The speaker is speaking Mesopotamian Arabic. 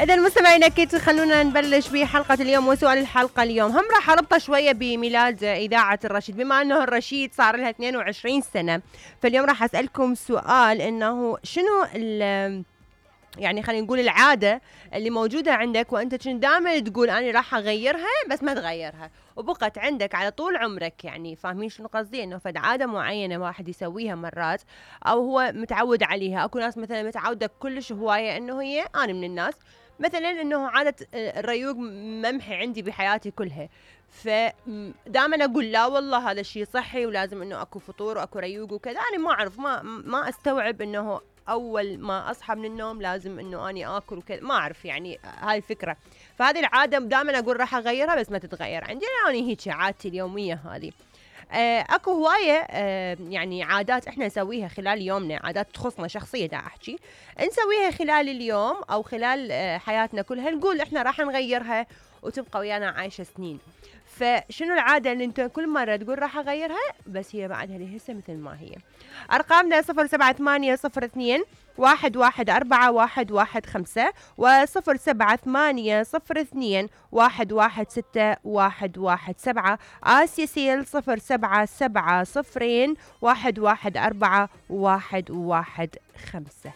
إذا مستمعينا أكيد خلونا نبلش بحلقة اليوم وسؤال الحلقة اليوم هم راح أربطه شوية بميلاد إذاعة الرشيد، بما أنه الرشيد صار لها 22 سنة. فاليوم راح أسألكم سؤال إنه شنو يعني خلينا نقول العادة اللي موجودة عندك وأنت كنت دائما تقول أنا راح أغيرها بس ما تغيرها وبقت عندك على طول عمرك. يعني فاهمين شنو قصدي؟ إنه فد عادة معينة واحد يسويها مرات أو هو متعود عليها. أكو ناس مثلا متعودة كلش هواية إنه هي أنا من الناس مثلا إنه عادة الريوق ممحي عندي بحياتي كلها، فدائما أقول لا والله هذا الشيء صحي ولازم إنه أكو فطور وأكو ريوق وكذا. أنا ما أعرف ما أستوعب إنه أول ما أصحى من النوم لازم إنه أني آكل وكذا، ما أعرف يعني هاي الفكرة. فهذه العادة دائما أقول راح أغيرها بس ما تتغير عندي، يعني هيك عادتي اليومية هذه. اكو هواية يعني عادات احنا نسويها خلال يومنا، عادات تخصنا شخصية دا احكي نسويها خلال اليوم او خلال حياتنا كلها، نقول احنا راح نغيرها وتبقى ويانا عايشة سنين. فشنو العادة اللي انت كل مرة تقول راح اغيرها بس هي بعدها لهسه مثل ما هي؟ ارقامنا 07802 1141115 و07802 116117 آسيا سيل 077 0114 115.